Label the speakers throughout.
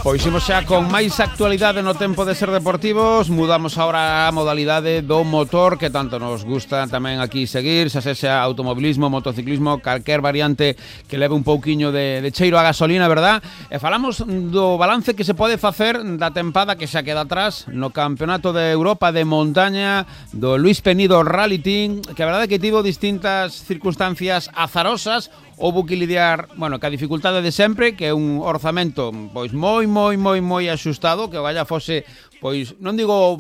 Speaker 1: Pois imos xa con máis actualidade no tempo de Ser Deportivos. Mudamos agora a modalidade do motor, que tanto nos gusta tamén aquí seguir, xa sexa automobilismo, motociclismo, calquer variante que leve un pouquiño de cheiro a gasolina, verdad? E falamos do balance que se pode facer da tempada que xa queda atrás no Campeonato de Europa de Montaña do Luís Penido Rally Team, que a verdade que tivo distintas circunstancias azarosas. Houbo que lidiar, bueno, ca dificultade de sempre, que é un orzamento pois moi axustado, que o galla fose, pois non digo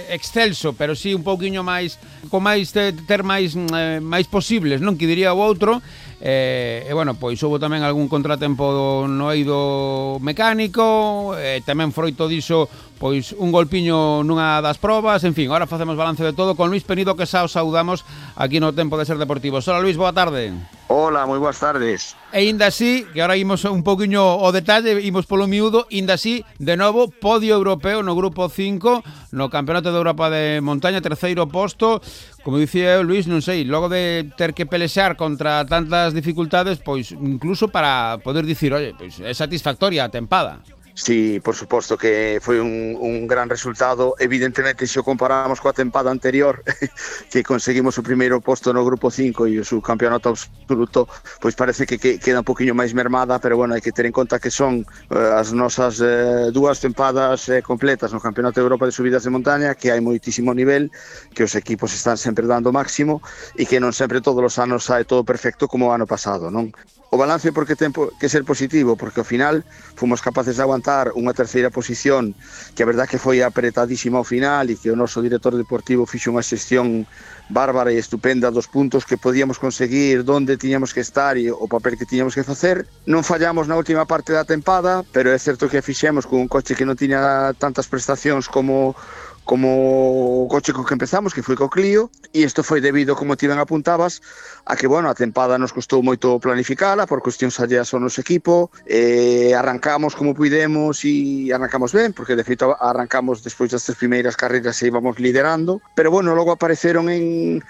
Speaker 1: excelso, pero sí un pouquiño máis, con máis ter máis posibles, non, que diría o outro. E bueno, pois houve tamén algún contratempo no eido mecánico, tamén froito diso pois un golpiño nunha das probas. En fin, agora facemos balance de todo con Luís Penido, que xa os saudamos aquí no Tempo de Ser Deportivos. Hola Luís, boa tarde.
Speaker 2: Hola, moi boas tardes.
Speaker 1: E inda así, que ahora imos un poquinho o detalle, imos polo miúdo, inda así, de novo, podio europeo no grupo 5, no Campeonato de Europa de Montaña, terceiro posto. Como dicía Luís, non sei, logo de ter que pelexar contra tantas dificultades, pois incluso para poder dicir, oye, pois é satisfactoria a tempada.
Speaker 2: Sí, por suposto que foi un gran resultado. Evidentemente, se o comparamos coa tempada anterior, que conseguimos o primeiro posto no grupo 5 e o subcampeonato absoluto, pois parece que queda un poquinho máis mermada, pero bueno, hai que ter en conta que son as nosas dúas tempadas completas no Campeonato de Europa de Subidas de Montaña, que hai moitísimo nivel, que os equipos están sempre dando o máximo e que non sempre todos os anos sae todo perfecto como o ano pasado, non? O balance porque ten que ser positivo, porque ao final fomos capaces de aguantar unha terceira posición, que a verdad que foi apretadísima ao final e que o noso director deportivo fixo unha xestión bárbara e estupenda dos puntos que podíamos conseguir, onde tiñamos que estar e o papel que tiñamos que facer. Non fallamos na última parte da tempada, pero é certo que fixemos con un coche que non tiña tantas prestacións como o coche co que empezamos, que foi co Clio, e isto foi debido, como ti ben apuntabas, a que, bueno, a tempada nos costou moito planificala por cuestións alleas ao noso equipo. Arrancamos como puidemos e arrancamos ben, porque de feito arrancamos despois das tres primeiras carreiras e íbamos liderando, pero bueno, logo apareceron en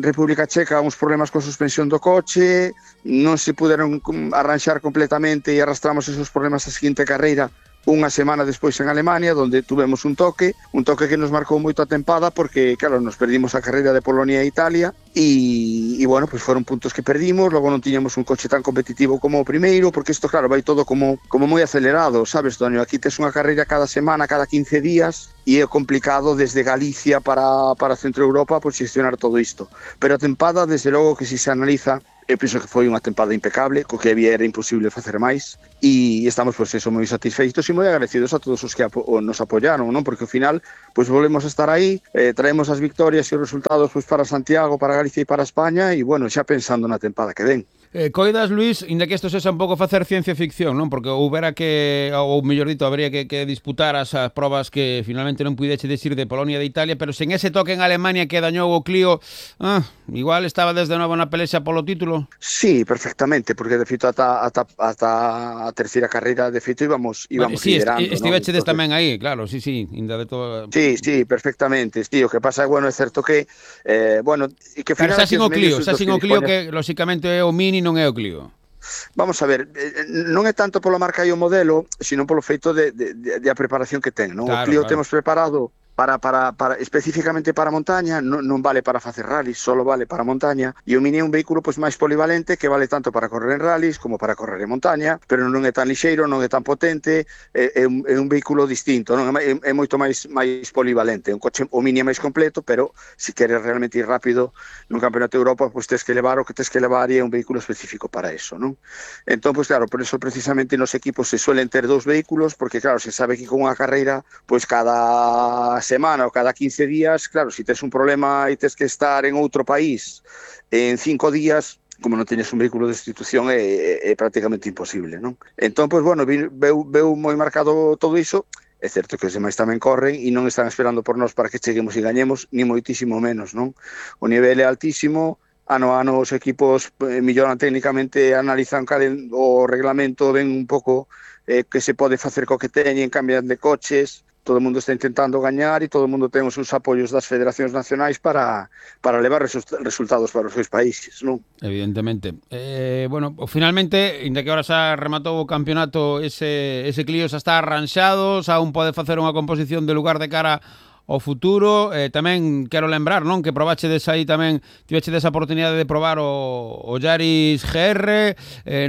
Speaker 2: República Checa uns problemas coa suspensión do coche, non se puderon arranxar completamente e arrastramos esos problemas a seguinte carreira unha semana despois en Alemania, onde tuvemos un toque que nos marcou moito a tempada, porque, claro, nos perdimos a carreira de Polonia e Italia e bueno, pois foron puntos que perdimos. Logo non tiñamos un coche tan competitivo como o primeiro, porque isto, claro, vai todo como moi acelerado, sabes, Tonio? Aquí tes unha carreira cada semana, cada 15 días, e é complicado desde Galicia para Centro Europa pois xestionar todo isto. Pero a tempada, desde logo que se analiza, eu penso que foi unha tempada impecable, co que había era imposible facer máis, e estamos, pois, eso, moi satisfeitos e moi agradecidos a todos os que nos apoyaron, non? Porque ao final, pois, volvemos a estar aí, traemos as victorias e os resultados, pois, para Santiago, para Galicia e para España, e, bueno, xa pensando na tempada que ven.
Speaker 1: Coidas, Luís, inda que isto sexa un pouco facer ciencia ficción, non? Porque houbera que, ou mellor dito, habría que disputar as probas que finalmente non puideche decir de Polonia e de Italia, pero sen ese toque en Alemania que dañou o Clio, igual estaba desde novo na pelexa polo título?
Speaker 2: Sí, perfectamente, porque de feito ata a terceira carreira de feito íbamos
Speaker 1: sí,
Speaker 2: liderando,
Speaker 1: estivechedes tamén aí, claro, sí, inda de todo.
Speaker 2: Sí, perfectamente, tío, o que pasa é, bueno, é certo que bueno, e que
Speaker 1: final, pero xa sin o Clio que lóxicamente é o Mini, non é o Clio.
Speaker 2: Vamos a ver, non é tanto pola marca e o modelo, sino polo feito de a preparación que ten, non? Claro, o Clio temos preparado para especificamente para montaña, non vale para facer rallies, solo vale para montaña, e o Mini é un vehículo pois máis polivalente que vale tanto para correr en rallies como para correr en montaña, pero non é tan lixeiro, non é tan potente, é un vehículo distinto, non? É moito máis polivalente. Un coche, o Mini é máis completo, pero se queres realmente ir rápido nun Campeonato de Europa, pois tes que levar o que tes que levar e é un vehículo específico para eso, non? Entón, pois claro, por eso precisamente nos equipos se suelen ter dous vehículos, porque claro, se sabe que con unha carreira, pois cada semana ou cada 15 días, claro, se tes un problema e tes que estar en outro país en 5 días, como non teñes un vehículo de institución, é prácticamente imposible, non? Entón, pois, bueno, veu moi marcado todo iso. É certo que os demais tamén corren e non están esperando por nós para que cheguemos e gañemos, ni moitísimo menos, non? O nivel é altísimo, ano a ano os equipos melloran técnicamente, analizan o reglamento, ven un pouco que se pode facer co que teñen, cambian de coches. todo o mundo está intentando gañar e todo o mundo ten os seus apoios das federacións nacionais para levar resultados para os seus países, non?
Speaker 1: Evidentemente. Bueno, finalmente, inda que ahora xa rematou o campeonato, ese Clio xa está arranxado, xa un pode facer unha composición de lugar de cara ao futuro. Tamén quero lembrar, non, que probachedes aí tamén, tivechedes a oportunidade de probar o Yaris GR,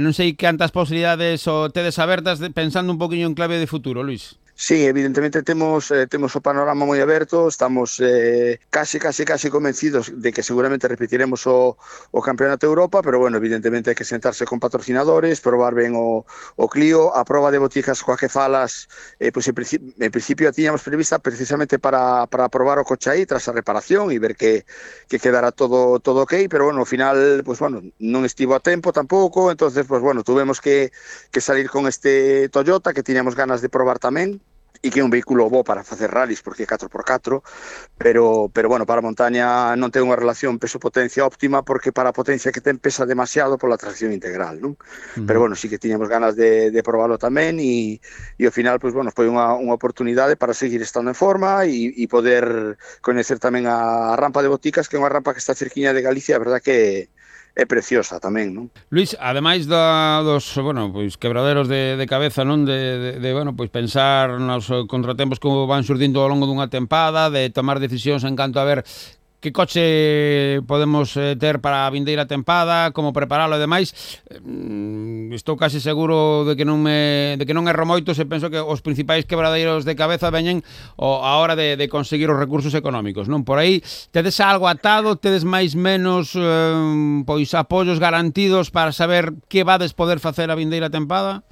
Speaker 1: non sei cantas posibilidades tedes abertas pensando un poquinho en clave de futuro, Luís.
Speaker 2: Sí, evidentemente temos o panorama moi aberto, estamos casi convencidos de que seguramente repetiremos o Campeonato de Europa, pero bueno, evidentemente hai que sentarse con patrocinadores, probar ben o Clio, a proba de boticas coa que falas, pois en principio a tiñamos prevista precisamente para probar o coche aí tras a reparación e ver que quedara todo ok, pero bueno, ao final, pues bueno, non estivo a tempo tampouco, entonces pues bueno, tuvemos que salir con este Toyota que tiñamos ganas de probar tamén, e que é un vehículo bo para facer rallies porque é 4x4, pero bueno, para a montaña non ten unha relación peso-potencia óptima porque para a potencia que ten pesa demasiado pola tracción integral, non? Pero bueno, sí que tiñamos ganas de probarlo tamén e ao final, pues bueno, foi unha oportunidade para seguir estando en forma e poder coñecer tamén a rampa de Boticas, que é unha rampa que está cerquiña de Galicia, a verdad que é preciosa tamén, non?
Speaker 1: Luís, ademais dos, bueno, pois quebraderos de cabeza, non, de bueno, pois pensar nos contratempos que van surdindo ao longo dunha tempada, de tomar decisións en canto a ver que coche podemos ter para a vindeira tempada, como preparalo e demais. Estou casi seguro de que non erro moito se penso que os principais quebradeiros de cabeza veñen a hora de conseguir os recursos económicos, non? Por aí, tedes algo atado, tedes máis menos pois apoios garantidos para saber que vades poder facer a vindeira tempada?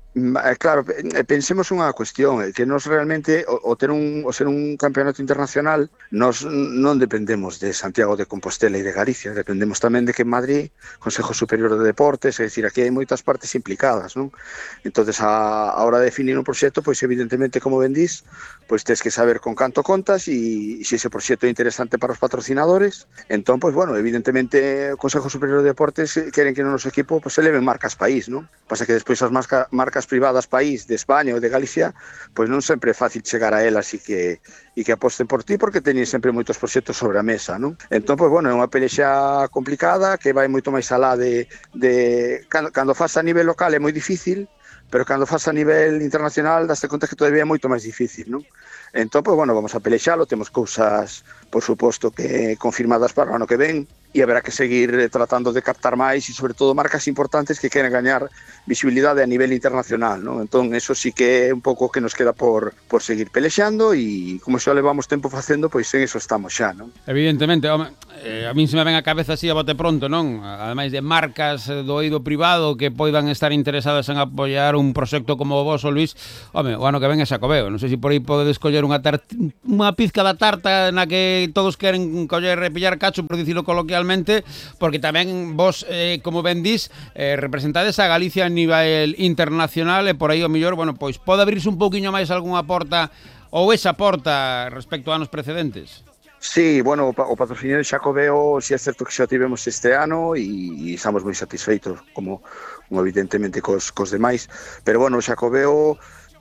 Speaker 2: Claro, pensemos unha cuestión, que nos realmente, o ser un campeonato internacional, nos non dependemos de Santiago de Compostela e de Galicia, dependemos tamén de que en Madrid, Consejo Superior de Deportes, é dicir, aquí hai moitas partes implicadas, non? Entonces, a hora de definir un proxecto, pois evidentemente, como ben dís, pois tens que saber con canto contas e se ese proxecto é interesante para os patrocinadores, entón, pois bueno, evidentemente, o Consejo Superior de Deportes queren que no noso equipo pois eleven marcas país, non? Pasa que despois as marcas privadas país de España ou de Galicia, pois non sempre é fácil chegar a elas e que aposten por ti porque teñen sempre moitos proxectos sobre a mesa, non? Entón, pois, bueno, é unha pelexa complicada que vai moito máis alá cando faz a nivel local é moi difícil, pero cando faz a nivel internacional daste conta que todavía é moito máis difícil, non? Entón, pois, bueno, vamos a pelexalo, temos cousas, por suposto, que confirmadas para o ano que ven, e haberá que seguir tratando de captar máis e sobre todo marcas importantes que queren gañar visibilidade a nivel internacional, non? Entón, eso sí que é un pouco que nos queda por seguir pelexando e como xa levamos tempo facendo, pois en eso estamos xa, non?
Speaker 1: Evidentemente, home, a min se me ven a cabeza así a bote pronto, non? Ademais de marcas do eido privado que poidan estar interesadas en apoiar un proxecto como o voso, Luís, home, o ano que ven é Xacobeo, non sei se por aí podedes coller unha pizca da tarta na que todos queren coller e pillar cacho, por dicilo coloquialmente, porque tamén vos, como ben dís, representades a Galicia a nivel internacional e por aí o mellor, bueno, pois pode abrirse un pouquiño máis algunha porta ou esa porta respecto a anos precedentes.
Speaker 2: Sí, bueno, o patrocinio de Xacobeo si é certo que xa tivemos este ano e estamos moi satisfeitos como evidentemente cos demais, pero bueno, o Xacobeo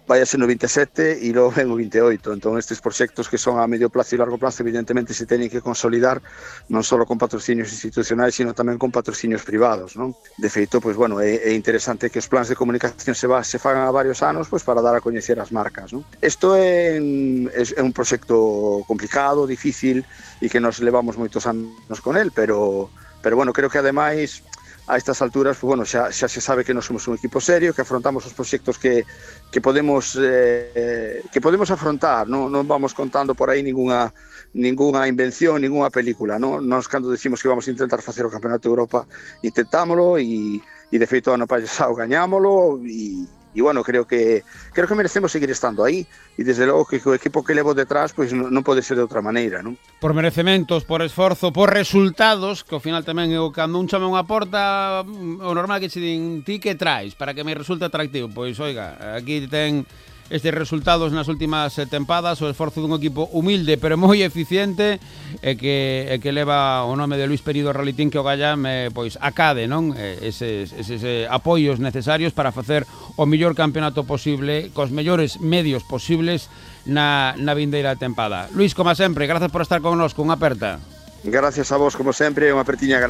Speaker 2: vai a ser no 27 e logo ven o 28, entón estes proxectos que son a medio plazo e largo plazo evidentemente se teñen que consolidar non só con patrocinios institucionais sino tamén con patrocinios privados, non? De feito, pois bueno, é interesante que os plans de comunicación se fagan a varios anos pois para dar a coñecer as marcas, non? Isto é un proxecto complicado, difícil e que nos levamos moitos anos con el, pero bueno, creo que ademais a estas alturas, pues bueno, xa se sabe que non somos un equipo serio, que afrontamos os proxectos que podemos afrontar, non vamos contando por aí ningunha invención, ningunha película, non? Nós cando decimos que vamos a intentar facer o Campeonato de Europa, intentámolo e de feito ano pasado gañámolo e bueno, creo que merecemos seguir estando aí e desde logo que o equipo que levo detrás pois non pode ser de outra maneira, non?
Speaker 1: Por merecementos, por esforzo, por resultados, que ao final tamén eu cando un chame unha porta, o normal que che din ti que traes para que me resulte atractivo, pois oiga, aquí ten estes resultados nas últimas tempadas, o esforzo dun equipo humilde pero moi eficiente e que leva o nome de Luís Perido Rally Team, que o Gallam pois acade, non? Eses apoios necesarios para facer o mellor campeonato posible, cos mellores medios posibles na vindeira tempada. Luís, como sempre, grazas por estar connosco, unha aperta.
Speaker 2: Gracias a vos, como sempre, unha apertiña.